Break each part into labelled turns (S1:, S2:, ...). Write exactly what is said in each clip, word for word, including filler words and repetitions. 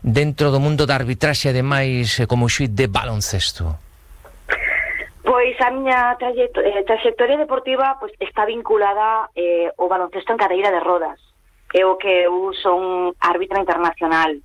S1: dentro do mundo da arbitraxe, ademais como xuíz de baloncesto?
S2: Pois a miña trayectoria deportiva pois, está vinculada eh, ao baloncesto en cadeira de rodas. É o que eu son árbitra internacional.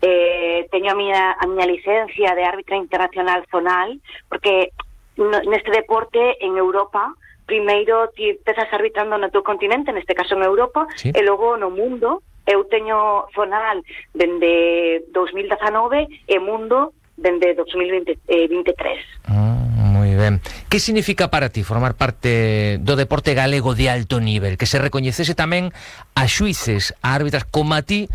S2: Eh, teño a miña, a miña licencia de árbitra internacional zonal, porque no, neste deporte en Europa, primeiro ti empezas arbitrando no teu continente, neste caso en Europa, sí. E logo no mundo. Eu teño zonal dende dos mil dezanove e mundo dende dos mil veintitrés.
S1: Ah. Moi ben. Que significa para ti formar parte do deporte galego de alto nivel? Que se recoñecese tamén a xuíces, a árbitras como a ti,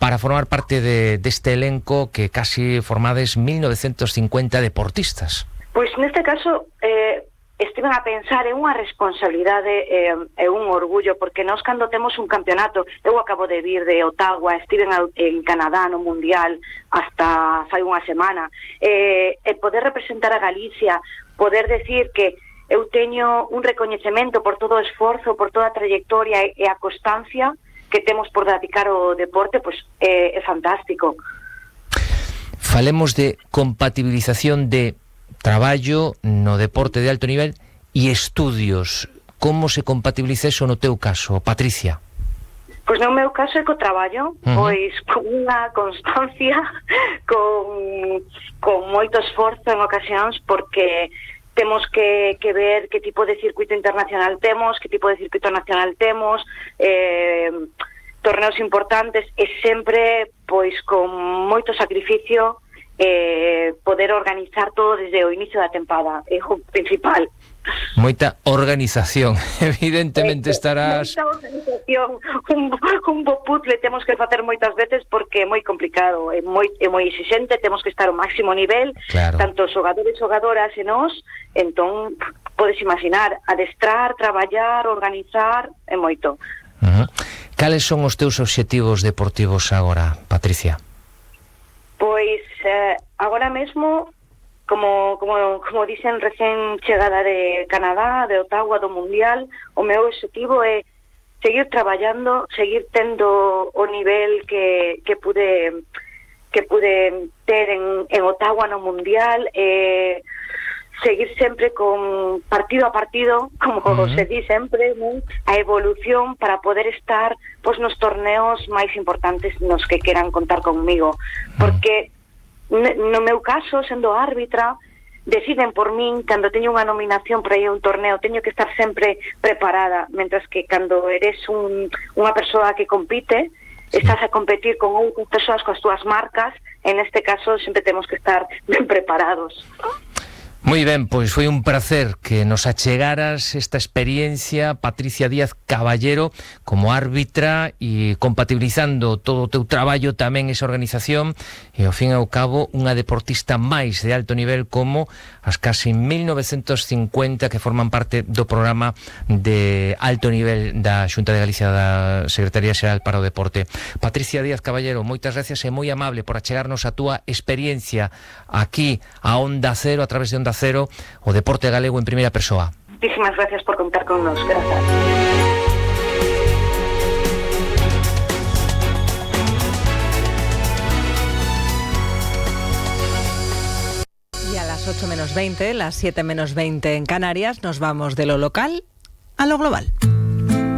S1: para formar parte de, deste elenco que casi formades mil novecientos cincuenta deportistas?
S2: Pois neste caso eh, estiven a pensar en unha responsabilidade e eh, un orgullo, porque nós cando temos un campeonato, eu acabo de vir de Ottawa, estiven en Canadá no Mundial hasta fai unha semana, eh, e poder representar a Galicia, poder decir que eu teño un recoñecemento por todo o esforzo, por toda a trayectoria e a constancia que temos por dedicar o deporte, pois é, é fantástico.
S1: Falemos de compatibilización de traballo no deporte de alto nivel e estudios. Como se compatibiliza eso no teu caso, Patricia?
S2: Pois no meu caso é co traballo, uh-huh. Pois con unha constancia, con, con moito esforzo en ocasións, porque temos que, que ver que tipo de circuito internacional temos, que tipo de circuito nacional temos, eh, torneos importantes, e sempre pois con moito sacrificio, eh, poder organizar todo desde o inicio da tempada, é o principal.
S1: Moita organización, evidentemente estarás...
S2: Moita organización, un, un bo puzzle temos que facer moitas veces porque é moi complicado, é moi, é moi exixente, temos que estar ao máximo nivel, claro. Tanto os xogadores, xogadoras e nós, entón, podes imaginar, adestrar, traballar, organizar, é moito.
S1: Uh-huh. Cales son os teus obxectivos deportivos agora, Patricia?
S2: Pois, eh, agora mesmo, como, como, como dicen, recén chegada de Canadá, de Ottawa, do Mundial, o meu objetivo é seguir traballando, seguir tendo o nivel que, que pude que pude ter en, en Ottawa no Mundial, eh, seguir sempre con partido a partido, como uh-huh. se di sempre, ¿no? A evolución para poder estar pois, nos torneos máis importantes nos que queran contar conmigo. Porque no meu caso, sendo árbitra, deciden por min, cando teño unha nominación para ir a un torneo, teño que estar sempre preparada, mentras que cando eres un, unha persoa que compite, estás a competir con outras persoas coas túas marcas, en este caso sempre temos que estar ben preparados.
S1: Moi ben, pois foi un placer que nos achegaras esta experiencia, Patricia Díaz Caballero, como árbitra e compatibilizando todo o teu traballo tamén esa organización e ao fin e ao cabo unha deportista máis de alto nivel como as casi mil novecientos cincuenta que forman parte do programa de alto nivel da Xunta de Galicia da Secretaría Xeral para o Deporte. Patricia Díaz Caballero, moitas gracias e moi amable por achegarnos a túa experiencia aquí a Onda Cero, a través de Onda Cero, o deporte galego en primeira persoa.
S2: Muchísimas gracias por contar con nos. Gracias.
S3: Y a las ocho menos veinte, las siete menos veinte en Canarias, nos vamos de lo local a lo global.